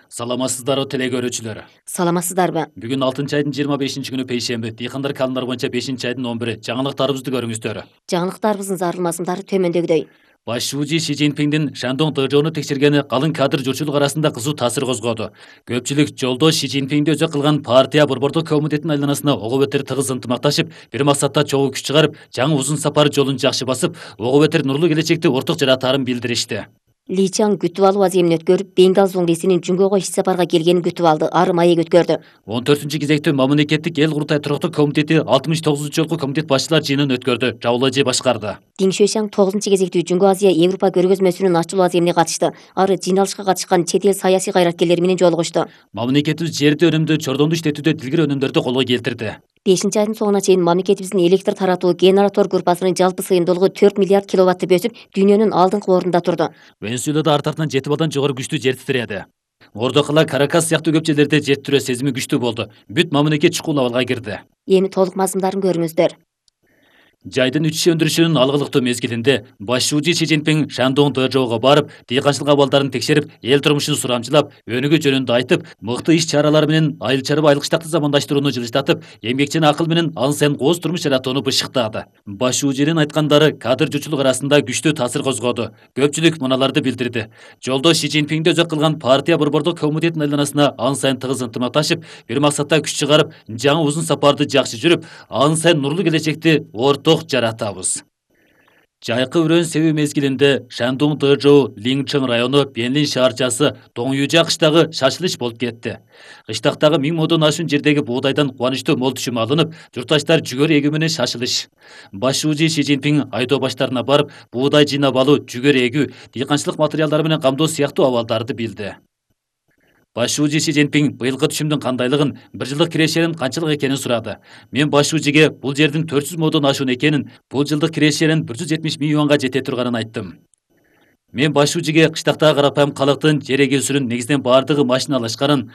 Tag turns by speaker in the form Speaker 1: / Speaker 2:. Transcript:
Speaker 1: Саламатсыздарбы теле көрүүчүлөр.
Speaker 2: Саламатсыздарбы?
Speaker 1: Бүгүн 6-айдын 25-күнү пейшемби, дыйкандар календар боюнча 5-айдын 11-и. Жаңылыктарыбызды көрүңүздөр.
Speaker 2: Жаңылыктарыбыздын зарылмасындары төмөндөгүдөй.
Speaker 1: Баш шүүжү Ши Цзиньпиндин Шандong ДЖОну текшергени калың кадр журтчулук арасында кызуу таасир козгоду. Көпчүлүк жолдош Ши Цзиньпинди өзөк кылган партия борбордук комитетинин айланасына ого бетер тыгыз ынтымакташып, бир максатта чогуу күч чыгарып, жаңы узун сапар жолун жакшы басып, ого бетер нурлуу келечекти орток жаратаарын билдиришти.
Speaker 2: Ли Чан күтүп алуу аземин өткөрүп, Бенгал зуңгисинин Жүнгөгө иш сапарга келгенин күтүп алды. Ары маек өткөрдү.
Speaker 1: 14-кезектүү мамлекеттик эл курултай туруктуу комитети 69 жолку комитет башчылар жыйынын өткөрдү. Жаулажы башкарды.
Speaker 2: Дин Шуйшаң 9-кезектүү Жүнгө Азия Европа көргөзмөсүнүн ачылуу аземине катышты. Ары жыйналышка катышкан чет эл саясий кайраткерлери менен жолугушту.
Speaker 1: Мамлекетибиз жерди өнүмдүү, чордонду иштетүүдө дилгир өнүмдөрдү колго келтирди.
Speaker 2: 5-айдын соңуна чейин мамлекетибиздин электр таратуу генератор группасынын жалпы сыйымдуулугу 4 миллиард киловаттты бөсүп, дүйнөнүн алдыңкы ордунда турду.
Speaker 1: Венесуэлада арт артынан 7 балдан жогору күчтүү жер титирedi. Ордокала, Каракас сыяктуу көп жерлерде жер титирөө сезими күчтүү болду. Бүт мамлекет чукул абалга кирди.
Speaker 2: Эми толук мазмундарын көрүңүздөр.
Speaker 1: Жайдын үчү өндүрүшүнүн алгылыктуу мезгилинде баш шүүжү Ши Цзиньпин Шандong ДЖОго барып, дыйканчылык абалдарын текшерип, эл турмушун сурамчылап, өнүгүү жөнүндө айтып, мыкты иш чаралар менен айыл чарба айылкыштакты замандаштырууну жылыштатып, эмгекчине акыл менен ан сайын кооз турмуш жаратууну бышыктады. Баш шүүжүнүн айткандары кадр журтчулук арасында күчтүү таасир козгоду. Көпчүлүк мыналарды билдирди. Жолдош Ши Цзиньпинди өзөк кылган партия борбордук комитетинин айланасына ан сайын тыгыз ынтымакташып, бир максатта күч чыгарып, жаңы узун сапарды жакшы жүрүп, ан сайын нурлуу келечекти орток жаратабыз. Жайкы өрөөн себүү мезгилинде Шандong ДЖО Лиңчэн району Бенлин шаарчасы Доңюжа кыштагы шашылыш болуп кетти. Кыштактагы 1000 модон ашуун жердеги буудайдан кубанычтуу мол түшүм алынып, журтташтар жүгөр эгүү менен шашылыш. Баш шүүжү Ши Цзиньпин айдоо баштарына барып, буудай жыйнап алуу, жүгөр эгүү, дыйканчылык материалдары менен камдоо сыяктуу абалдарды билди. Баш шүүжү Ши Цзиньпин быйылкы түшүмдүн кандайлыгын, бир жылдык кирешенин канчалык экенин сурады. Мен баш шүүжүгө бул жердин 400 модон ашуун экенин, бул жылдык кирешенин 170 миң юанга жете турганын айттым. Мен баш шүүжүгө кыштактагы карапайым калктын жер эгүүсүнүн негизинен бардыгы машиналашканын,